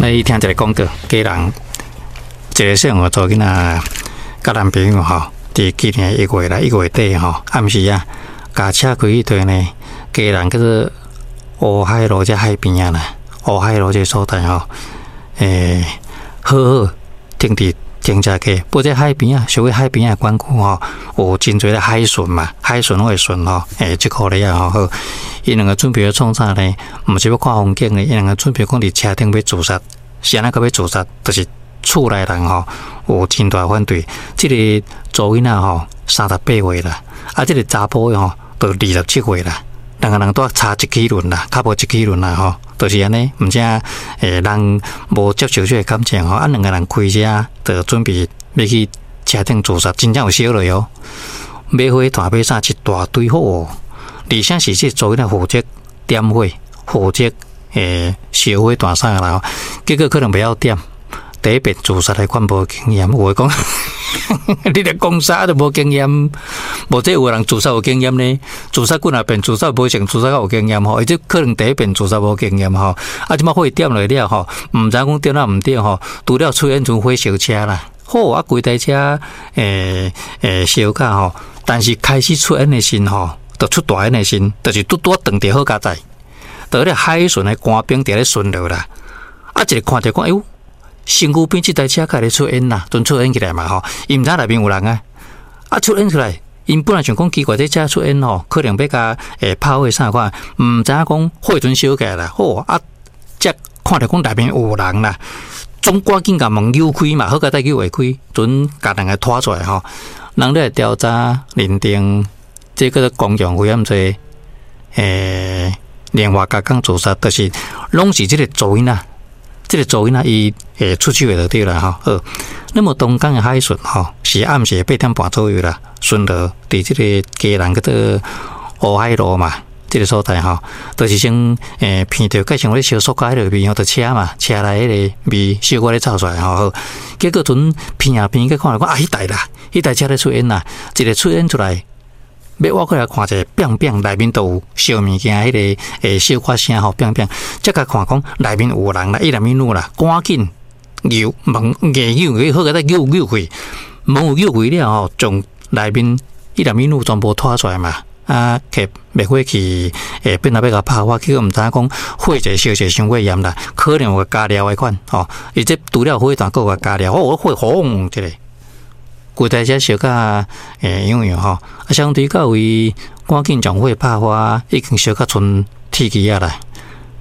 來聽一个廣告，家人一个細漢查某囡仔，佮男朋友吼，佇今年1月啦，1月底吼，暗時啊，共車開去佗呢，家人叫做烏海路這海邊仔啦，烏海路這所在吼，好好停佇停車格，不過這海邊仔，屬於海邊仔管區吼，有真濟的海巡嘛，海巡攏會巡吼，這箍咧啊吼，好，𪜶兩个準備欲創啥呢？毋是欲看風景呢，𪜶兩个準備講佇車頂欲自殺，是按怎閣欲自殺？就是厝內人吼有真大反對，這个查某囡仔吼38歲啦，啊，這个查埔的吼就27歲啦，兩个人拄差一齒輪啦，較無一齒輪啦吼，就是按呢，毋知人無接受這个感情吼，啊，兩个人開車就準備欲去車頂自殺，真正有燒落哦，買火炭買啥一大堆好，而且是這查某囡仔負責點火，負責燒火炭啥啦，結果可能袂曉點。第一遍自殺的款無經驗，有的講你咧講啥都無經驗，無這有的人自殺有經驗呢？自殺幾若遍，自殺無成，自殺較有經驗吼，伊這可能第一遍自殺無經驗吼，啊，這擺火點落了吼，毋知影講點抑毋對吼，除了出煙陣火燒車啦，好啊，規台車燒甲吼，但是開始出煙的時吼，就出大煙的時，就是拄拄轉著好佳哉，就彼个海巡的官兵佇咧巡邏啦，啊，一个看著講，哎喲！身軀邊這台車開咧出煙啦，陣出煙起來嘛吼，伊毋知內面有人啊，啊出煙出來，𪜶本來想講奇怪，這車出煙吼，可能欲共拍火啥款，毋知影講火陣燒起來啦，好啊，才看著講內面有人啦，總趕緊共門扭開嘛，好佳哉扭會開，陣共兩个拖出來吼，人咧調查認定，這叫做公共危險罪，連環加工自殺，就是攏是這个查某囡仔。這个查某囡仔伊會出手的就對啦吼。好，那麼東港的海巡吼是暗時8點半左右啦，巡邏佇這个基隆叫做烏海路嘛，這个所在吼，就是先鼻著蓋像咧燒塑膠彼个味吼，就車嘛，車內彼个味小可咧臭出來吼。好，結果陣鼻啊鼻去看來講啊，彼台啦，彼台車咧出煙啦，一个出煙出來。欲挖過來看者，變變內面都有燒物件，彼个小可聲吼，變變，才共看講內面有人啦，一男一女啦，趕緊扭門硬扭，好佳哉扭扭開，門有扭開了吼，將內面一男一女全部拖出來嘛，啊，摕滅火器變來欲共拍火，結果毋知影講火一燒一傷過嚴啦，可能有加料的款吼，伊這除了火炭，閣有加料，哦，火轟一个。規台車燒甲樣樣吼，啊，相對到位趕緊將火拍火，已經燒甲賰鐵枝仔啦。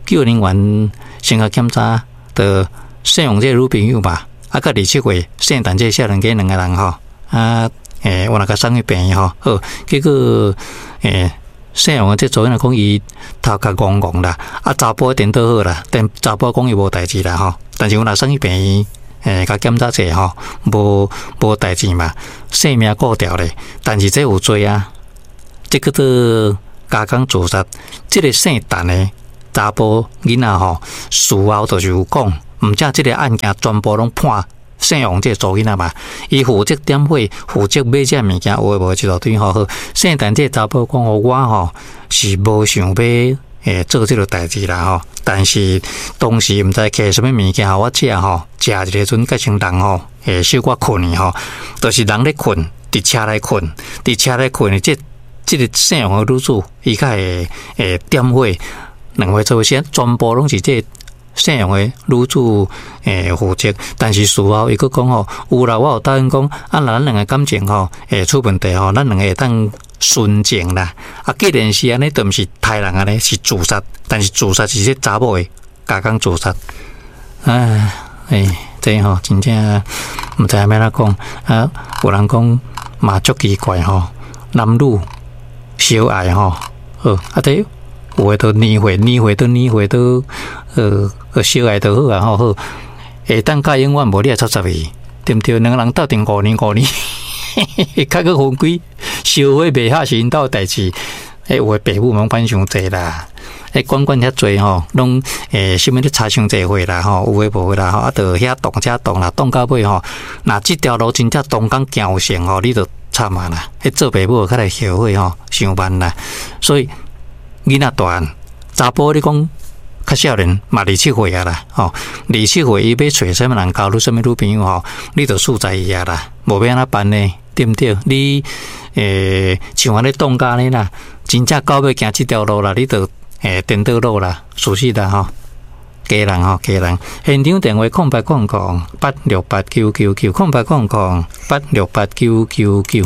救人員先共檢查，就姓王這个女朋友嘛，啊，佮27歲姓陳這个少年家兩个人吼，啊，有若共送去病院吼，好，結果姓王的這查某囡仔講伊頭殼戇戇啦，啊，查埔顛倒好啦，但查埔講伊無代誌啦吼，但是有若送去病院。共檢查者吼，無代誌嘛，性命顧著咧。但是這有罪啊，這叫做加工自殺。這个姓陳的查埔囡仔吼，事後就是有講，毋只這个案件全部攏判姓王這个查某囡仔嘛，伊負責點火，負責買這物件，有的無的一大堆吼。好，姓陳這个查埔講，我吼是無想欲做這个代誌啦吼，但是當時毋知摕啥物物件予我食吼，食一个陣閣像人吼，會小可睏去吼，就是人咧睏，佇車內睏，佇車內睏的這這个姓王的女子，伊較會點火，兩位做先，全部攏是這姓王的女子負責，但是事後伊閣講吼，有啦，我有答應講，啊，若咱兩个感情吼會出問題吼，咱兩个會當純情啦，啊，既然是按呢，就毋是刣人按呢，是自殺，但是自殺是這查某的加工自殺，唉，這吼真正毋知影欲按怎講啊，有人講嘛足奇怪吼，男女相愛吼，好，啊，這有的都年歲年歲都年歲都相愛就好啊吼，好，會當甲永遠無你會插插去，對毋對？兩个人鬥陣五年五年。較閣分開，燒火袂合是𪜶兜的代誌。有的爸母毋管傷濟啦，管管遐濟吼，攏啥物咧查傷濟歲啦吼，有的無的啦吼，啊，就遐動遮動啦，動到尾吼，若這條路真正當工行有成吼，你就慘啊啦！做爸母較來後悔吼，傷慢啦。所以囡仔大漢，查埔你講較少年嘛二七歲啊啦，吼，二七歲伊欲揣啥物人交你啥物女朋友吼，你就輸在伊啊啦，無欲按怎辦呢？對毋對？你像按呢擋家呢啦，真正狗欲行這條路啦，你就顛倒路啦，事實啦吼。家人吼，家人，現場電話0800868999，0800868999。